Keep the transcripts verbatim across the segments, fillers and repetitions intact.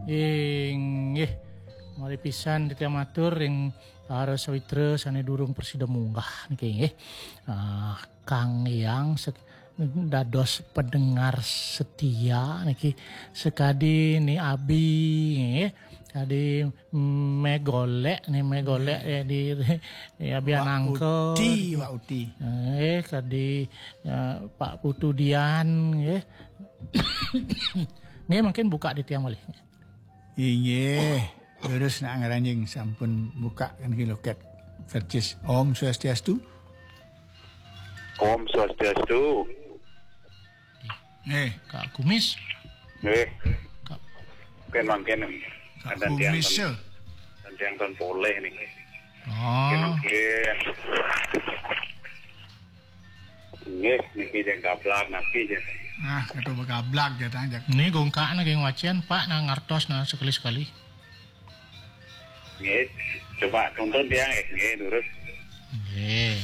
Inggih. Malih pisan titiang matur ring para sawitra sane durung prasida munggah niki, nggih. Ah, Kang Hyang sek-, dados pendengar setia niki, sekadi Ni Abi, nggih. Kadi megolek, ni megolek, eh, di, di Abi Anangka. Uti, Wak Uti. Eh, kadi, eh, Pak Putu Dian, nggih. Nggih, mungkin buka di tiang malih. Inggih. Terus nak ngaranjing sampun buka kan ki loket. Percis. Om Swastiastu. Om Swastiastu. Eh, Kak Kumis. Eh. Kak Mungkin, mungkin Kak ada tiang Kumis, ten-, ya. Ada tiang ten poleh nih. Oh. Mungkin, mungkin. Nggih, niki jeng gablak napi jeng. Nah, kata begablak ya, tang, jak. Ini gongkak na geng wacian, Pak, na ngartos na sekali-sekali. Nggih, coba tuntun tiang, eh, nggih, durus. Nggih.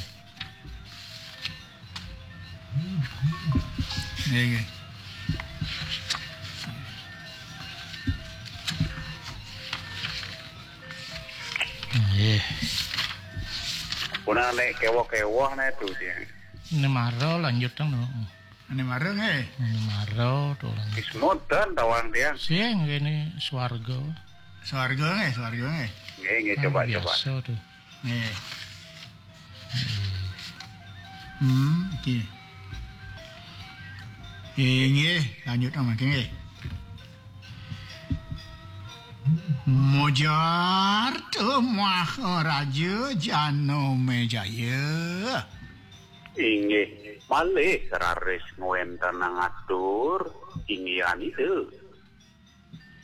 Nggih, nggih. Nggih. Puna nek kewoh-kewoh nek tu tiang. Ini mara lanjut tang no. Ini mara nggih. Ini mara tu lanjut. Ismut dan tawang tiang. Sing ini swarga. Swarga nggih, swarga nggih. Nggih, nggih, kan coba, coba. Biasa tu. Nggih. Hmm, oke. Inggih, lanjut mangke nggih. Mojar tu Maharaja Janamejaya. Inggih, malih raris ngwentenang atur, inggihan Ida.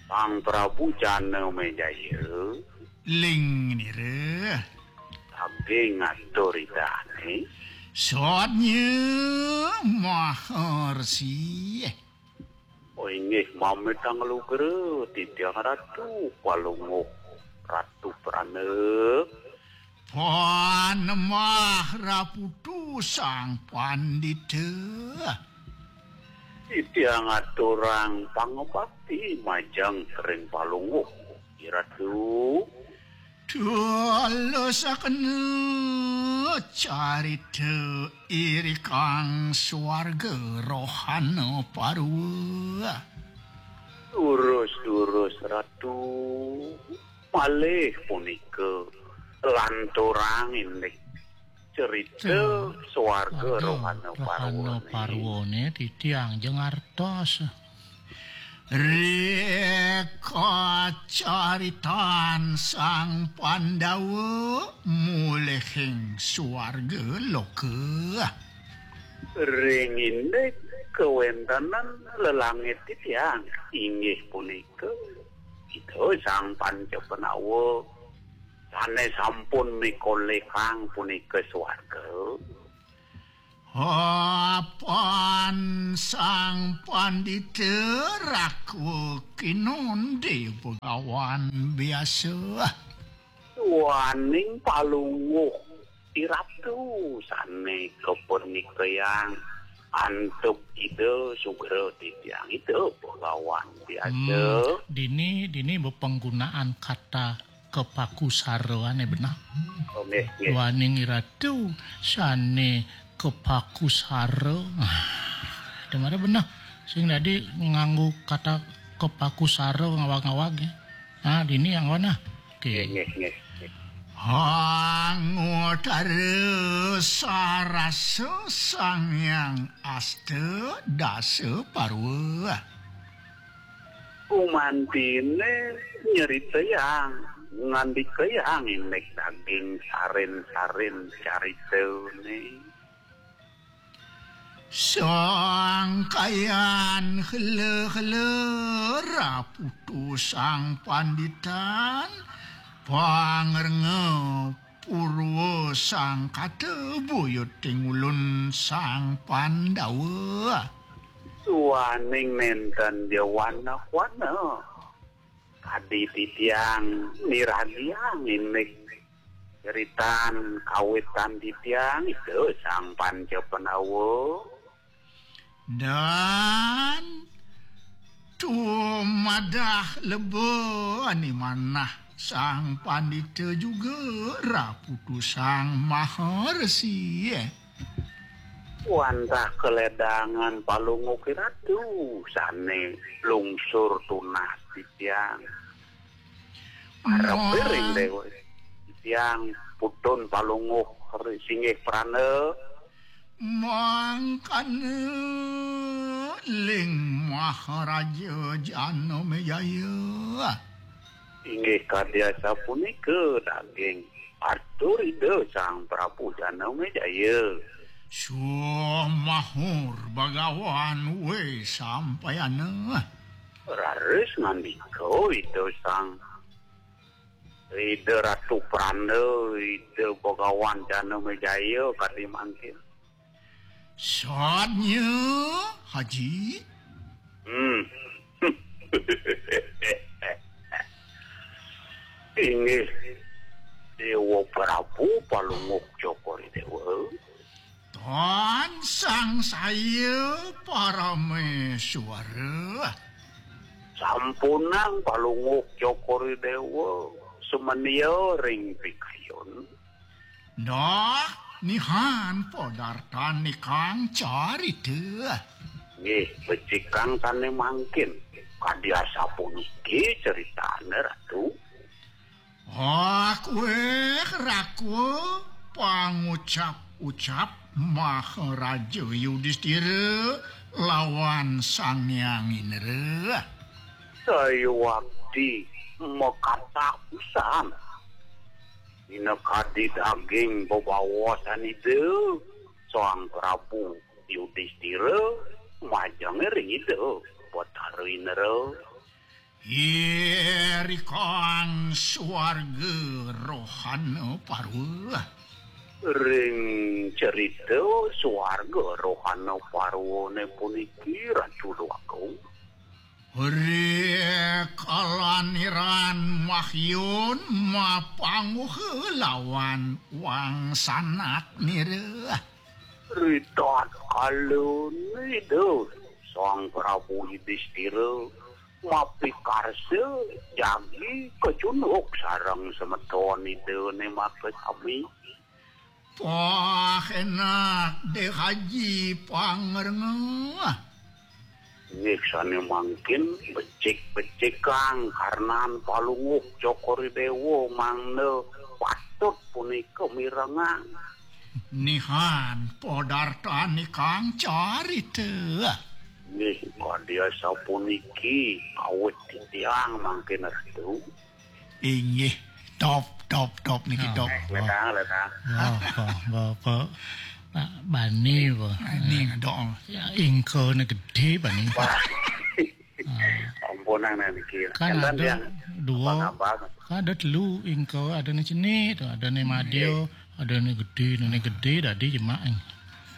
Sang Prabu Janamejaya. Ling nira. Saking atur idane. Sotnya Maharsi. Oh, inggih, mamitang lugra, titiang Ratu Palungguh, Ratu Prana. Pan Maharaputu Sang Pandita. Titiang aturang pangabakti majeng ring Palungguh, Ratu. Tulusakena carita irikang swarga rohana parwa. Durus, durus, Ratu. Malih punika lanturang indik cerita swarga rohana parwane. Parwane titiang jeng artos. Rika caritan Sang Pandawa mulihing swarga loka. Ring indik kawentenan lelangit titiang inggih punika Ida Sang Panca Pandawa sane sampun mikolekang punika swarga. Apan Sang Pandita Rakwa Kinonde Begawan biasa. Duaning Palungguh Iratu sane kapernikayang antuk Ida sugra titiang Ida Begawan biasa. Hmm, dini, dini bepenggunaan kata kepakusara ane benah. Oh, nggih, nggih. Duaning Iratu sane kepakusara. Demare benah. Sing dadi nganggo kata kepakusara ngawag-ngawag, ya. Ah, dini yang mana? Oke. Nggih, nggih, nggih. Angutara sarasa Sang Hyang Asta Dasa Parwa. Kumantine nyeritayang, ngandikayang indik daging sarin-sarin caritane. Sangkayan hela-hela raputu Sang Panditan, pangrenga purwa sangkata buyuting ulun Sang Pandawa. Duaning nenten jawana-wana. Kadi titiang niradiang indik ceritan kawitan titiang Ida Sang Panca Pandawa. Dan Tumadah leba ni manah Sang Pandita juga raputu Sang Maharesi. Wantah kaledangan Palungguh Ratu sane lungsur tunah titiang. Arep Wah. Ring Dewa. Titiang putun Palungguh ri-, singgih prana. Mangkana ling Maharaja Janamejaya. Inggih kadi asapunika daging atur Ida Sang Prabu Janamejaya. Suh mahur bagawan we sampayana. Raris ngandika Ida Sang Ida Ratu Pranda, Ida Bagawan Janamejaya kadi mangkin. Sadnya, Haji. Hmm. Inggih Dewa Prabu Palungguh Cokor Dewa. Tan sangsaya Parameswara. Sampunang Palungguh Cokor Dewa sumenia ring pikayun. Nah, nihan podartan nikang carita. Nggih, becikang sane mangkin. Kadi asapuniki ceritane, Ratu. Akwe rakwa pangucap-ucap Maharaja Yudistira lawan Sang Hyang Indra. Sayuwakti makatah pisan. Minakadi daging bebaosan Ida Sang Prabu Yudistira majenge ring Ida Batara Indra. Irikang suarga rohana parwa. Ring cerita suarga rohana parwane puniki, Ratu Déwa Agung. Ri kalaniran mahyun mapangguh lawan wangsanat nira. Ritatkala Ida Sang Prabu Yudistira mapikarsa jagi kacunduk sareng semeton Idane makasami. Wah, enak deh Haji pangrengeh. Nggih sane mangkin becik-becikang karnan Palungguh Cokor Dewa mangda patut punika mirengang. Nihan podartan ikang carita. Nggih, kadi asapuniki awit titiang mangkin Ratu. Inggih, top, top, top niki, top. Letang, letang. Wah, wah, wah, wah. Pak Bani, wah. Ini dong. Ya, ingkone gedhe, Bani. Wah. Ampunang niki. Kan ada dua, kan ada telu ingko, ada ne cenik, ada ne madya, ada ne gedhe, ne gedhe dadi jemak.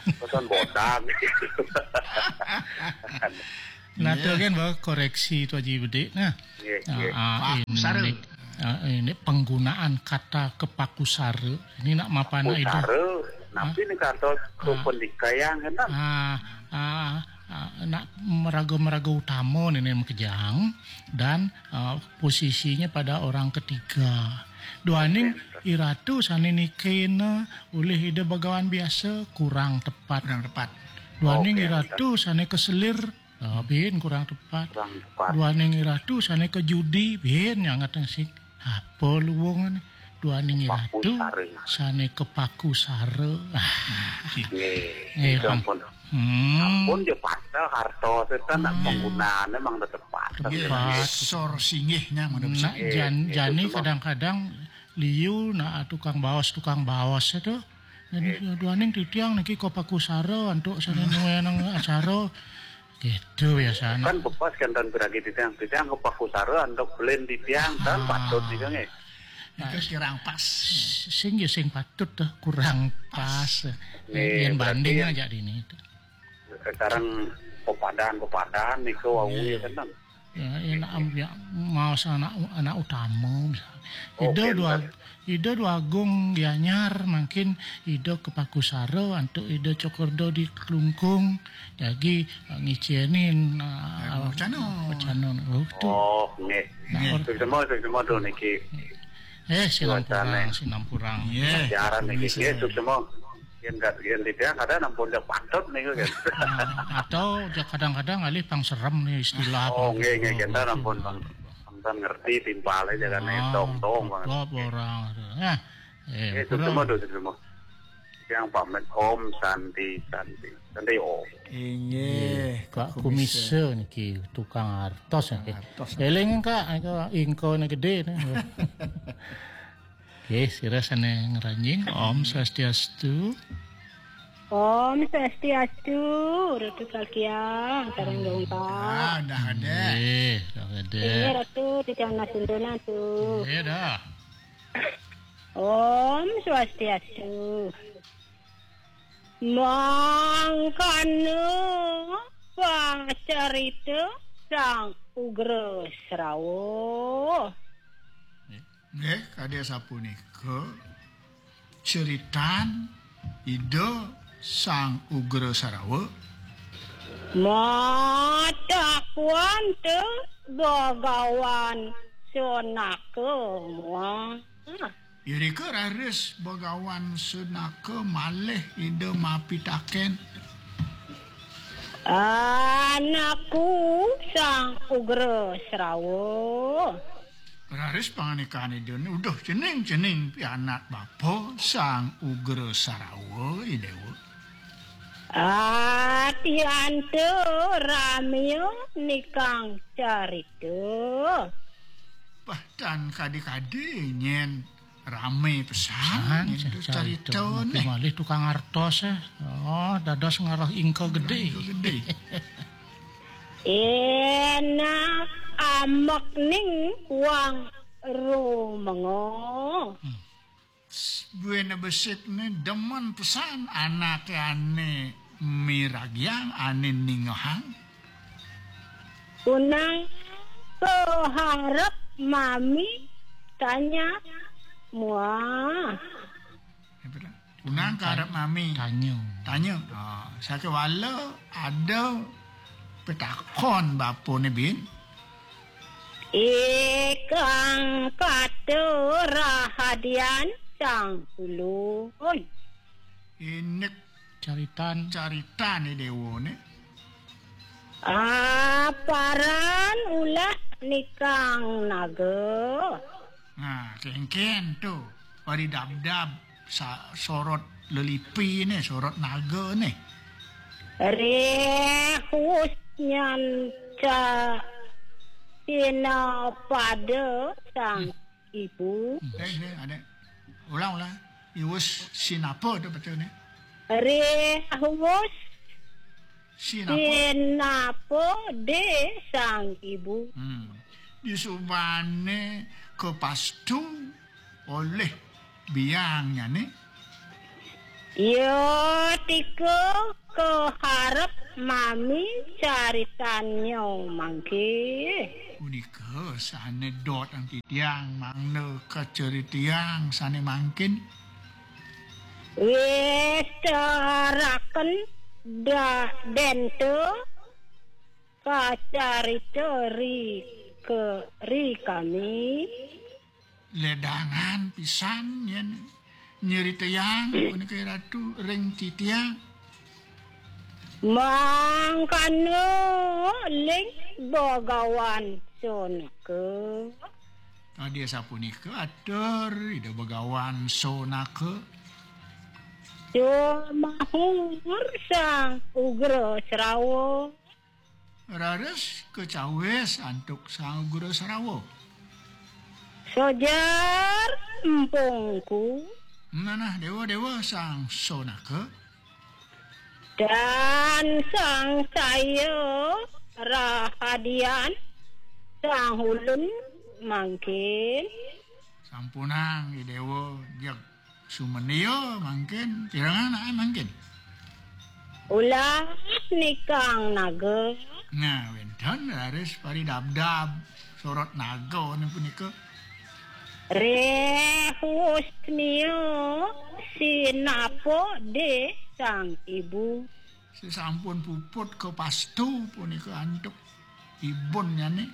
Pesan botak. Nah, to kan bawa koreksi tu Haji Bedik. Nah, nggih, nggih. Ah, ah, ini, ah, ini penggunaan kata kepakusara. Ini nak mapan itu. Kusara, napi ni kata kependikayang kan? Ah, ah, ah, nak meraga-meraga utama ni, ni makejang dan, ah, posisinya pada orang ketiga. Duaning iratu sane nikena oleh Ida Bagawan biasa kurang tepat. Kurang tepat. Duaning iratu sane keselir, ah, bin kurang tepat. Kurang tepat. Duaning iratu sane kejudi, bin nyangat sing. Apa luwungane? Duaning iratu sane kepaku sara. Ah. Nggih. Eh, sampun. Hmm. Sampun ya patah harta setan nak penggunaan memang tetep patah. Nggih, sor singgihnya ngono bisa. Nggih, jan-, nggih, jani betul. Kadang-kadang liu nak tukang baos, tukang baos itu. Jadi duaning titiang niki kepaku sara antuk sane nuwe nang acara. Gitu biasane. Kan bepas kan tan piragi titiang, titiang kepaku sara antuk belen titiang tan patut nika nggih. Nika kirang pas. Sing ya sing patut tuh, kurang pas. Nggih, yen banding aja dini. Sekarang pepadan-pepadan niku wau ya kan. Ya, ya, nak am-, ya, maos anak, anak utama, misalnya. Oh, Ida dua, Ida dua agung Gianyar, mungkin Ida kepaku sara antuk Ida Cokorda di Klungkung. Jagi, eh, ngicénin, eh, Pecana. Pecana. Oh, tu. Oh, nggih. Nah, nggih. Suksma, suksma tu niki. Eh, sinampurang, sinampurang. Nggih. Siaran niki. Nggih, suksma. Yen dak, yen tidak, kadang ampun dak patut niku kan. Ah, atau kadang-kadang alih pang serem nih istilah. Oh, nggih, nggih, kita ampun pang, pang ngerti timpal aja kan, tong-tong, Bang. Klop orang. Nah, eh, itu semua tuh, semua. Yang pamit Om Santi, Santi, Santi Om. Inggih, Kak Kumise niki tukang artos niki. Artos. Eling, Kak, engko, engko ne gedé nih. Oke, sira sané ngranjing. Om Swastiastu. Om Swastiastu, Ratu Kakiang, sareng dongkap. Ah, dah ada. Eh, dah ada. Ini Ratu, titiang nasuntunan tuh. Iya dah. Om Swastiastu. Mangkana pacarita Sang Ugra Srawa. Nggih, kadi sapunika ceritan Ida Sang Ugra Sarawa. Matakuan te Bagawan Sunaka muah. Irika raris Bagawan Sunaka malih Ida mapitaken. Anakku Sang Ugra Srawa. Raris pangandikan Ida, uduh cening-cening pianak bapa Sang Ugra Sarawa, I Dewa. Atianta ramya nikang carita. Bah, tan kadi-kadi nyén ramé pesan. Pesan, nyén tu carita, carita neh. Malih tukang artos, eh. Oh, dados ngarah ingka gedé. Ingka gedé. Enak ambek ning wang rumenga. Hmm. Buéné besik né demen pesan anaké ané miragiang, ané ningehang. Punang kaharep mami tanya muah. Punang kaharep mami tanya. Tanya. Ah, sakéwala ada pitakon bapané bin. Ikang kata rahadian Sang Ulun. Indik caritan. Caritan I Dewa né. Aparan ulah nikang naga. Nah, kéngkén tu. Pari dabdab sa-, sorot lelipi né, sorot naga né. Rehus nyanca sina pada sang ibu. Eh, eh, ada. Ulang, ulang. Iwus sinapa tu betul ni? Rehus sinapa? Sinapa de sang ibu. Hmm. Disubane kepastu oleh biang nyane. Ya, tika keharep mami caritannya mangke. Punika sane dot angki tiang mangda kaceritiang sane mangkin. Wis teraken da dente kacarita ri ke ri kami. Ledangan pisan yen nyeritayang punika Ratu ring titiang. Mangkana ling Bagawan Sonaka. Tadi sapunika atur Ida Bagawan Sonaka. Sumahur Sang Ugra Srawa. Raris kacawis antuk Sang Ugra Srawa. Sojar empungku. Manah dewa-dewa Sang Sonaka. Dan Sang Saya rahadian Sang Ulun mangkin. Sampunang, I Dewa, jeg sumendia mangkin, pirengang naen mangkin? Ulah nikang naga. Nah, wénten raris paridabdab Sorot Naga ning punika. Rehusnia sinapa de sang ibu. Sasampun puput kapastu punika antuk ibunnyané.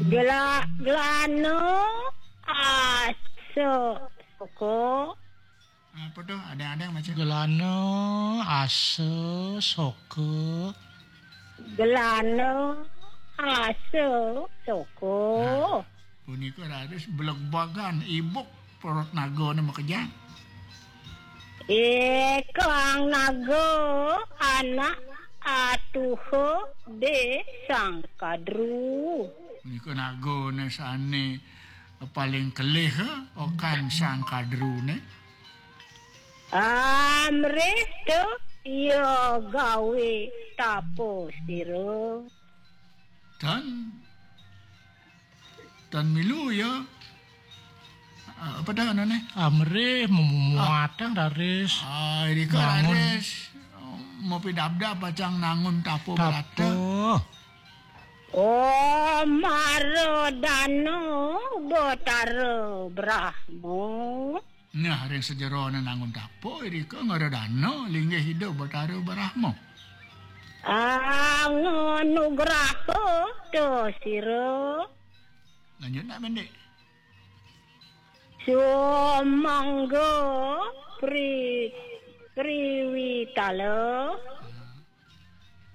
Gela-, gelana asa soka. Apa tuh? Ada-ada yang baca. Gelana asa soka. Gelana asa soka. Nah, punika raris blegbagan ibuk perut nagane makejang. Ikang naga anak atuha de sang kadru. Punika nagane sane paling kelih, okan sang kadrune. Amrih tu iya gawe tapa sira. Tan, tan milu ya. Ah, apa dah anane? Amrih memuatang raris. Ah, irika bangun. Raris. Mopi dabdab pacang nangun tapa. Tapa berata. Oh, maradana Batara Brahma. Nah, ring sajerone nangun tapa irika ngaradana linggih Ida Batara Brahma. Anganugraha ta sira. Lanjut nak, Bendik. Sumangga pri-, priwitala.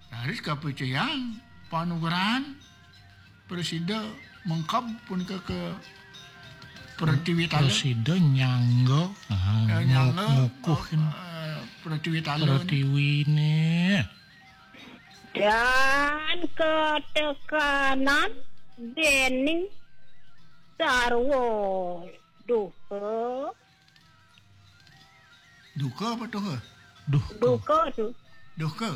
Raris kapicayang panugrahan prasida mengkeb punika ke Pratiwitala. Prasida nyangga, ah, eh, nyangga, ngukuhin, eh, Pratiwitala. Pratiwine. Dan katekanan dening sarwa duha. Duka apa tuha? Duka. Duka tu. Duka.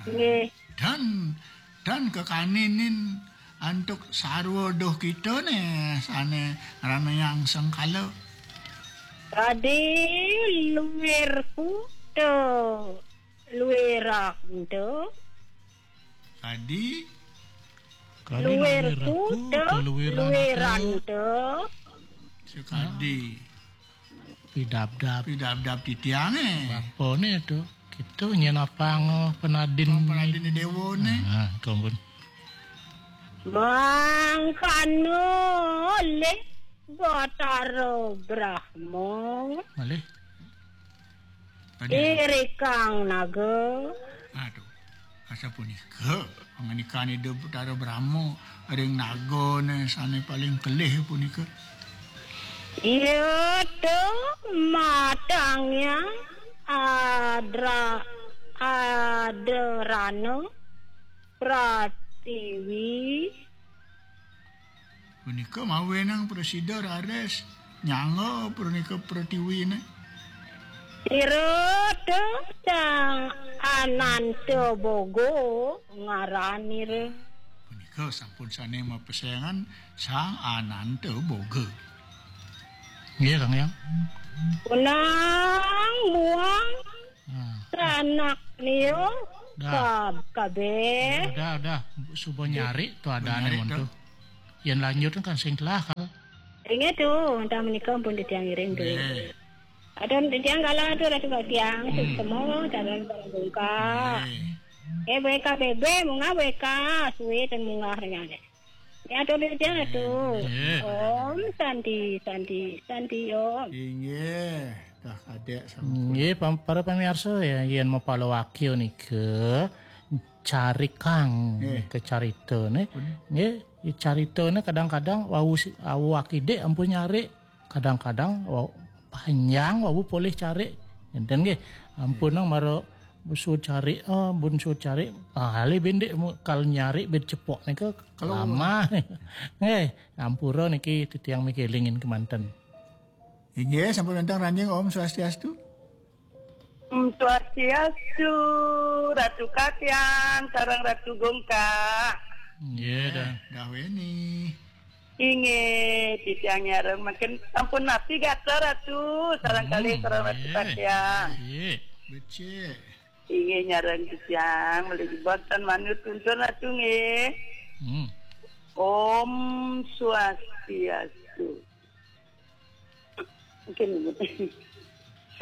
Nggih. Dan, dan kekaninin antuk sarwa duh kita ne sane ranayang sengkala. Kadi luirku tu luirak tu. Kadi. Kadi luirku luiranku, tu, luiranku. Luiranku. Sekadi. Pidabdab. Pidabdab titiange. Bapane tu. Kita nyen apang penadin. Apang penadin dewa ne. Ah, ampun. Mangkana le Batara Brahma. Malih. Tadi. Irikang naga. Aduh, asapunika pangandikan Ida Batara Brahma ring nagane sane paling kelih punika. Iya tu matangnya adra-, adrana Pratiwi. Punika mawenang prasida raris nyangga punika pratiwine. Ira tu Sang Ananta Boga ngaranira. Punika sampun sane mapesengan Sang Ananta Boga. Nggih, Kang Yang. Punang muang Hmm. Sanak liu. Dah. Kab-, kabeh. Dah, dah. Suba nyari tu adane monto. Yen lanjut kan sing telah kal. Inggih tu, entah menika pun titiang ngiring tu. Nggih. Ada titiang kala tu Ratu Katiang, hmm, sukma, calon barang bungka. Nggih. Eh, B K B B, munggah B K, suwe ten munggah renyane. Ya, tu dia tu. Nggih. Om Santi, Santi, Santi, Om. Inggih. Dah kadek sampun. Nggih, pam-, para pamirsa ya, yen mapalawakya nika carikang, nggih, nika caritane. Pun. Nggih, caritane kadang-kadang wau si-, wau akidik ampun nyarik, kadang-kadang wau panjang wau polih carik. Enten nggih, ampun, nggih, nang mara suud carik, ah, bun suud carik. Ah, ale bendik mu-, kal nyarik bed cepok nika. Kalau lama. Nggih, ampura niki titiang mikelingin kemanten. Inggih, sampun wénten ranjing, Om Swastiastu. Om Swastiastu, Ratu Katiang, sareng Ratu Gungkak. Inggih, dah. Dah wéni. Inggih, titiang nyareng mangkin sampun napi gatra Ratu, sareng, hmm, kalih sareng Ratu, inggih, Katiang. Inggih. Becik. Inggih nyareng titiang, malih jebos tan manut tuntun Ratu nggih. Hmm. Om Swastiastu. Mungkin